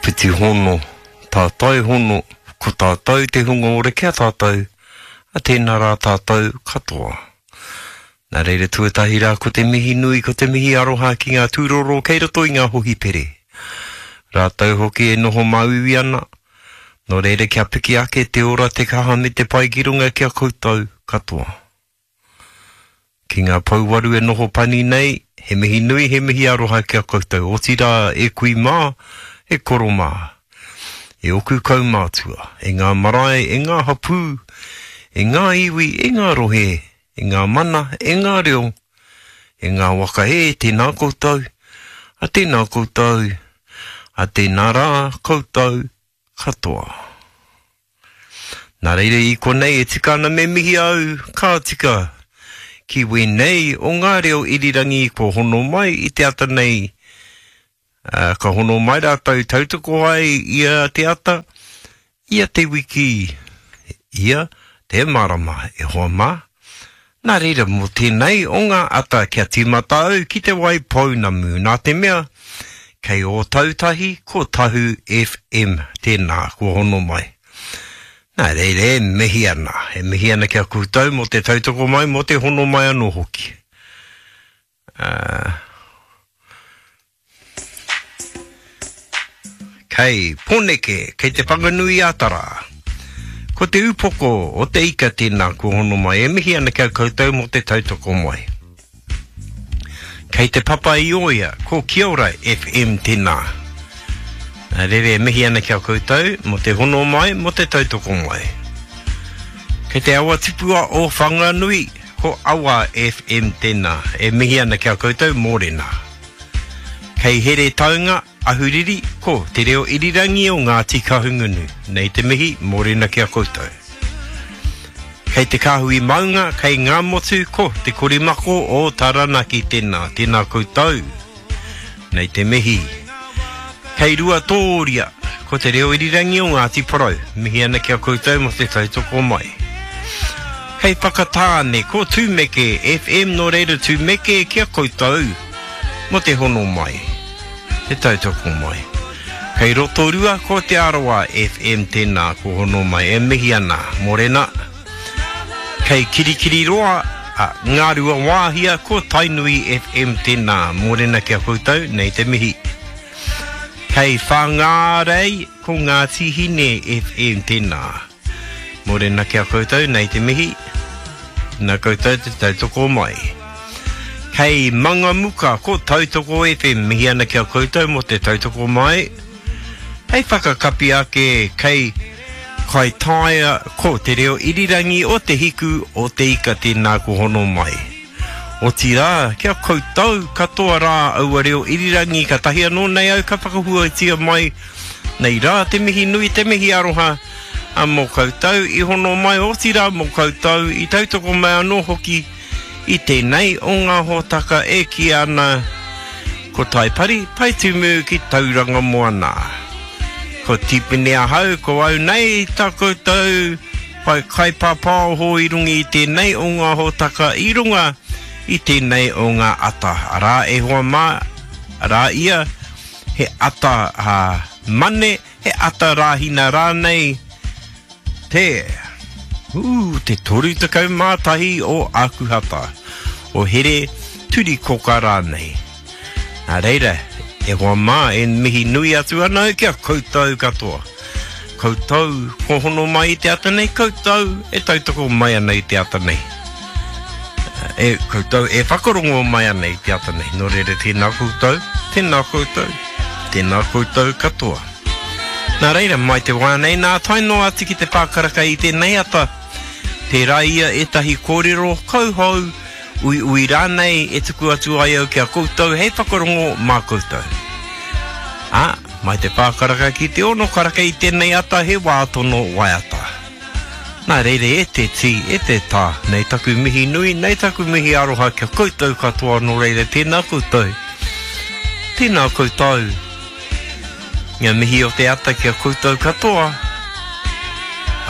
Whiti hono, tātai hono, ko tātou te hunga ora ki a tātou, a tēnā rā tātou katoa. Nā reira tuatahi rā ko te mihi nui, ko te mihi aroha ki ngā tūroro kei roto i ngā hohipere. Rātou hoki e noho māuiui ana, nō reira kia piki ake te ora, te kaha me te pai ki runga ki a koutou katoa. Ki ngā pouwaru e noho pani nei, he mihi nui, he mihi aroha ki a koutou, otirā e kui mā, e koro mā, e oku kaumātua, e ngā marae, e ngā hapū, e ngā iwi, e ngā rohe, e ngā mana, e ngā reo, e ngā waka e, tēnā koutou, a tēnā koutou, a tēnā rā koutou katoa. Nā reira i konei e tika ana me mihi au, ka tika, ki wēnei o ngā reo irirangi kua hono mai i te ata nei, ā, ka hono mai rātou tautoko ai ia te ata, ia te wiki, ia te marama, e hoa mā. Nā reira mō tēnei o ngā ata kia tīmata au ki Te Wai Pounamu nā te mea kei Ōtautahi ko Tahu FM tēnā kua hono mai. Nā reira e mihi ana, e mihi ana ki a koutou mō te tautoko mai, mō te hono mai anō hoki. Ā. Kei Pōneke, kei Te Whanganui-a-Tara. Ko te upoko o te ika tēnā kua hono mai, e mihi ana ki a koutou mō te tautoko mai. Kei Te Papa-i-ōia, ko Kia Ora FM tēnā. Nā reira e mihi ana ki a koutou mō te hono mai, mō te tautoko mai. Kei te awa tipua o Whanganui, ko Awa FM tēnā, e mihi ana ki a koutou, mōrena. Kei Heretaunga, Ahuriri, ko Te Reo Irirangi o Ngāti Kahungunu. Nei te mihi, mōrena ki a koutou. Kei Te Kāhui Maunga, kei Ngāmotu, ko Te Korimako o Taranaki tēnā, tēnā koutou. Nei te mihi. Kei Ruatōria, ko Te Reo Irirangi o Ngāti Porou. Mihi ana ki a koutou mō te tautoko mai. Kei Whakatāne, ko Tūmeke FM, nō reira Tūmeke ki a koutou. Mo te hono mai, te tautoko mai. Kei Rotorua ko Te Arawa FM tēnā ko hono mai e mihi ana, morena. Kei Kirikiriroa, a, Ngāruawāhia ko Tainui FM tēnā, morena ki a koutou, nei te mihi. Kei Whāngārei ko Ngāti Hine FM tēnā. Morena ki a koutou, nei te mihi. Nā koutou te tautoko mai. Kei Mangamuka, ko Tautoko FM, mihi ana ki a koutou mō te tautoko mai. Hei whakakapi ake, kei Kaitaia, ko Te Reo Irirangi o Te Hiku o Te Ika tēnā ko hono mai. Otirā, ki a koutou katoa rā aua reo irirangi katahi anō nei au ka whakahuatia mai nei rā te mihi nui, te mihi aroha a mō koutou i hono mai, otirā mō koutou i tautoko mai anō hoki i tēnei o ngā hōtaka e kīia ana ko Taipari, Taitumu ki Tauranga Moana. Ko Tipene ahau, ko au nei tā koutou whai kaipāpāoho i runga i tēnei o ngā hōtaka i runga i tēnei o ngā ata. Arā e hoa mā, arā ia, he ata mane, he ata rāhina rānei, Te, ū, te 31 o Ākuhata, o Here Turikoka rānei. Nā reira, e hoa mā, e mihi nui atu ana au ki a koutou katoa. Koutou kua hono mai i te ata nei, koutou e tautoko mai ana i te ata nei. E koutou e whakarongo mai ana i te ata nei. Nō reira, tēnā koutou, tēnā koutou, tēnā koutou katoa. Nā reira, mai te wā nei nā tae noa atu ki te pākaraka i tēnei ata, tērā ia ētahi kōrero kauhou, uiui rānei e tuku atu ai au ki a koutou hei whakarongo mā koutou. Ā, mai te pākaraka ki te ono karaka i tēnei ata he wā tono waiata. Nā reira e te tī, e te tā, nei taku mihi nui, nei taku mihi aroha ki a koutou katoa nō reira tēnā koutou, tēnā koutou. Nga mihi o te ata ki a koutou katoa.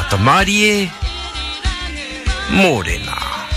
Ata mārie, mōrena.